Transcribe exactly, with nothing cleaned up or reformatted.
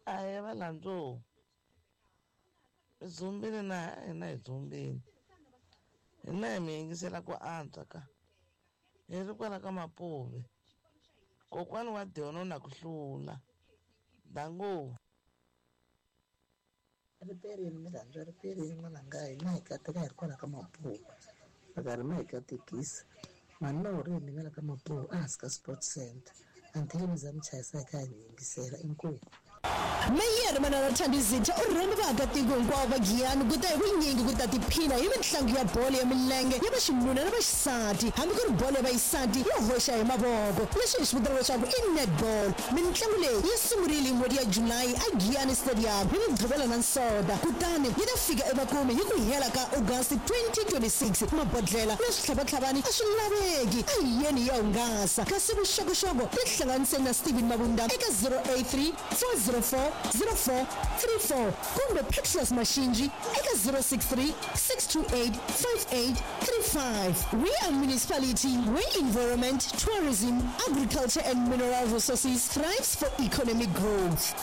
Ahee valandzo, mi dzumbile na hina hi dzumbile. Hina hi mi yingisela ku antswa ka. Hi ri kwala ka Mapuve. Kokwani wa Dion na ku hlula. Dango. Riperini mi rhandza riperini n'wananga hina hi kateka hi ri kwala ka Mapuve. Va karhi ma hi katekisa. Mhani Maureen ni nga la ka Mapuve ehansi ka Sports Center. Until mi za mi chayisa hi kha hi mi yingisela inkomu. Meyara Manana Thandi Zitha u rhamba vaakatiko hinkwavo va Giyani ku ta hi vunyingi ku ta tiphina hi mitlangu ya bolo ya milenge ya vaxinuna na vaxisati hambi ku ri bolo ya vaxisati yo hoxa hi mavoko leswi hi swi vitanaka leswaku i netball. Mitlangu leyi yi sungurile hi n'hweti ya July a Giyani Stadium hi Mugqivela na Nsoda kutani yi ta fika emakumu hi ku hela ka August twenty twenty-six. Mabodlela na switlhavatlhavani a swi laveki, a hi yeni hi ya hungasa. Kasi vuxokoxoko tihlanganiseni na Steven Mabunda eka zero eight three four zero four zero four three four kumbe Petrus Mashinji eka zero six three six two eight five eight three five. We are municipality where environment, tourism, agriculture and mineral resources thrives for economic growth.